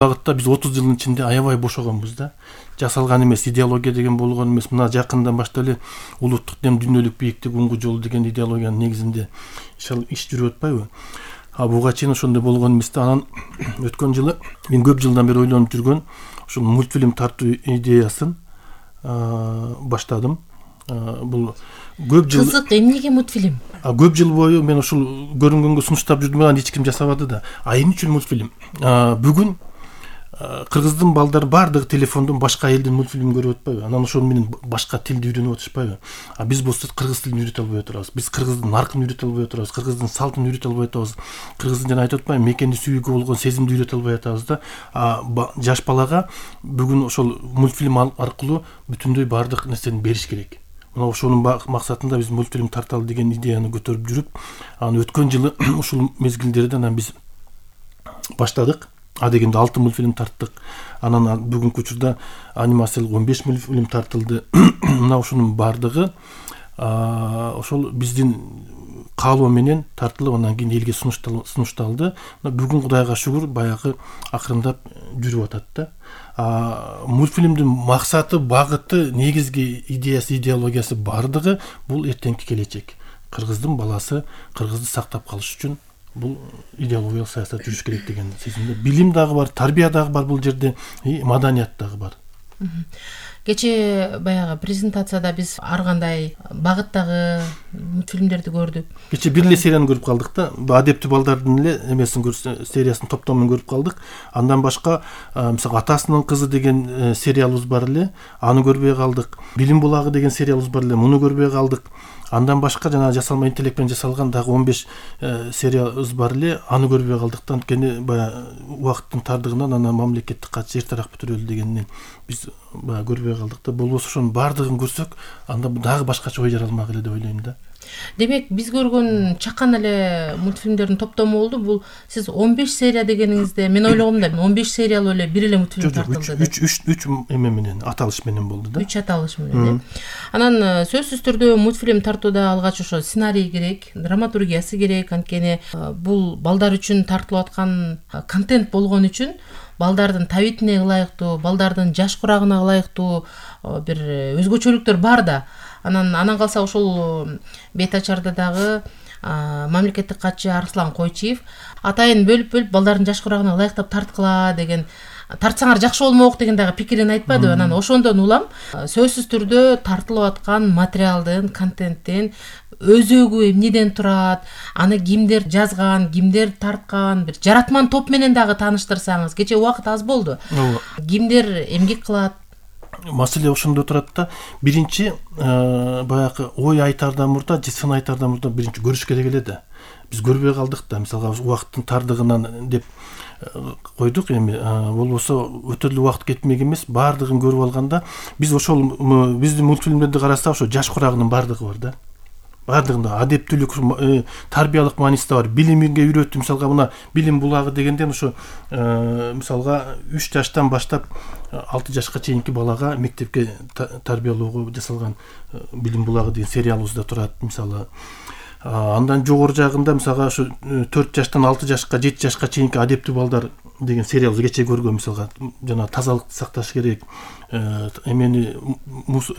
багытта биз 30 жылдын ичинде аябай бошогонбуз да. Жасалган эмес идеология деген болгон эмес. Мына жакындан баштап эле улуттук дем дүйнөлүк бийиктик уңгу жолу деген идеологиянын негизинде иш жүрүп атпайбы? Буга чейин ошондой болгон эмес да. Анан өткөн жылы мен көп жылдан бери ойлонуп жүргөн ушул мультфильм тартуу идеясын баштадым. Бул көп жыл кызык, эмнеге мультфильм? Көп жыл бою мен ушул көрүнгөнгө сунуштап жүрдүм, анан эч ким жасабады да. Эмне үчүн мультфильм? Бүгүн кыргыздын балдары баардыгы телефондон башка элдин мультфильмин көрүп атпайбы? Анан ошол менен башка тилди үйрөнүп атышпайбы? Биз болсо кыргыз тилин үйрөтө албай отурабыз. Биз кыргыздын наркын үйрөтө албай отурабыз, кыргыздын салтын үйрөтө албай атабыз. Кыргыздын жана айтып атпаймынбы, мекенди сүйүүгө болгон сезимди үйрөтө албай атабыз да. Жаш балага бүгүн ошол мультфильм аркылуу бүтүндөй баардык нерсени бериш керек. Мына ошонун максатында биз мультфильм тарталы деген идеяны көтөрүп жүрүп, анан өткөн жылы ушул мезгилдерде анан биз баштадык. Дегенде 6 мультфильм тарттык. Анан бүгүнкү учурда анимациялык 15 мультфильм тартылды. Мына ушунун баардыгы ошол биздин каалоо менен тартылып, анан кийин элге сунушталды. Бүгүн Кудайга шүгүр баягы акырындап жүрүп атат да. Мультфильмдин максаты, багыты, негизги идеясы, идеологиясы баардыгы бул эртеңки келечек. Кыргыздын баласы кыргызды сактап калыш үчүн бул идеологиялык саясат жүрүш керек деген сезимде. Билим дагы бар, тарбия дагы бар бул жерде, маданият дагы бар. Кечээ баягы презентацияда биз ар кандай багыттагы мультфильмдерди көрдүк. Кечээ бир эле серияны көрүп калдык да. Адептүү балдардын эле эмесин сериясын топтомун көрүп калдык. Андан башка мисалы Атасынын кызы деген сериалыбыз бар эле, аны көрбөй калдык. Билим булагы деген сериалыбыз бар эле, муну көрбөй калдык. Андан башка жана жасалма интеллект менен жасалган дагы 15 сериябыз бар эле, аны көрбөй калдык да. Анткени баягы убакыттын тардыгынан анан мамлекеттик катчы эртерээк бүтүрөлү дегенинен биз баягы көрбөй калдык да. Болбосо ошонун баардыгын көрсөк, анда дагы башкача ой жаралмак эле деп ойлойм да. Демек, биз көргөн чакан эле мультфильмдердин топтому болду. Бул сиз 15 серия дегениңизде мен ойлогом да 15 сериялуу эле бир эле мультфильм тартылды деп. 3 эме менен, аталыш менен болду да. 3 аталыш менен. Анан сөзсүз түрдө мультфильм тартууда алгач ошо сценарий керек, драматургиясы керек. Анткени бул балдар үчүн тартылып аткан контент болгон үчүн балдардын табитине ылайыктуу, балдардын жаш курагына ылайыктуу бир өзгөчөлүктөр бар да. Анан калса ошол бет ачарда дагы мамлекеттик катчы Арслан Койчиев атайын бөлүп балдардын жаш курагына ылайыктап тарткыла деген, тартсаңар жакшы болмок деген дагы пикирин айтпадыбы. Анан ошондон улам сөзсүз түрдө тартылып аткан материалдын, контенттин өзөгү эмнеден турат, аны кимдер жазган, кимдер тарткан, бир жаратман топ менен дагы тааныштырсаңыз. Кечээ убакыт аз болду. Кимдер эмгек кылат? Маселе ошондо турат да. Биринчи баягы ой айтаардан мурда, сын айтаардан мурда биринчи көрүш керек эле да. Биз көрбөй калдык да. Мисалга убакыттын тардыгынан деп койдук эми. Болбосо өтө эле убакыт кетмек эмес, баардыгын көрүп алганда биз ошол биздин мультфильмдерди карасак, ошо жаш курагынын баардыгы бар да. Баардыгында адептүүлүк, тарбиялык мааниси да бар. Билимге үйрөтүү, мисалга мына билим булагы дегенден ошо мисалга 3 жаштан баштап 6 жашка чейинки балага мектепке тарбиялоого жасалган билим булагы деген сериалыбыз да турат мисалы. Андан жогору жагында мисалга ошо 4 жаштан 6 жашка, 7 жашка чейинки адептүү балдар деген сериалыбыз кечээ көргөн, мисалга жана тазалыкты сакташ керек, эмени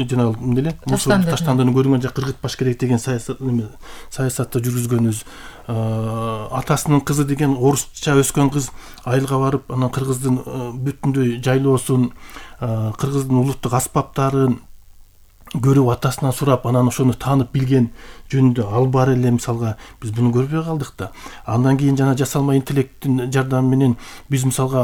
жана эмне мусор таштандыны көрүнгөн жакка ыргытпаш керек деген саясатты жүргүзгөнүбүз. Атасынын кызы деген орусча өскөн кыз айылга барып, анан кыргыздын бүтүндөй жайлоосун, кыргыздын улуттук аспаптарын көрүп, атасынан сурап, анан ошону таанып билген жөнүндө ал бар эле, мисалга биз буну көрбөй калдык да. Андан кийин жана жасалма интеллекттин жардамы менен биз мисалга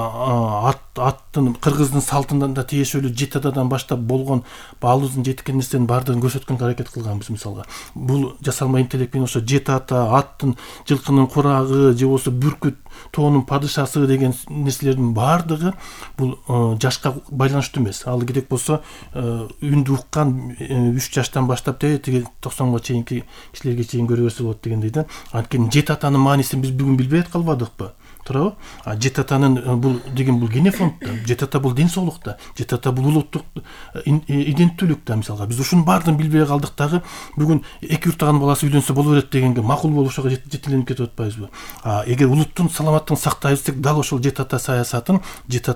аттын кыргыздын салтынан да тиешелүү жетададан баштап болгон баалыбыздын жеткен нерсенин баардыгын көрсөткөнгө аракет кылганбыз мисалга. Бул жасалма интеллект менен ошо жетата, аттын, жылкынын курагы же болбосо бүркүт тоонун падышасы деген нерселердин баардыгы бул жашка байланыштуу эмес. Ал керек болсо үндү уккан 3 жаштан баштап тиги 90га чейинки кишилерге чейин көрө берсе болот дегендей да. Анткени жетатанын маанисин биз бүгүн билбей калбадыкпы? туурабы? Жети атанын бул деген бул генофонд да, жети ата бул ден соолук да, жети ата бул улуттук иденттүүлүк да. Мисалга биз ушунун баардыгын билбей калдык дагы бүгүн эки уртаган баласы үйлөнсө боло берет дегенге макул болуп ошого жетеленип кетип атпайбызбы? Эгер улуттун саламаттыгын сактайбыз десек, дал ошол жети ата саясатын, жети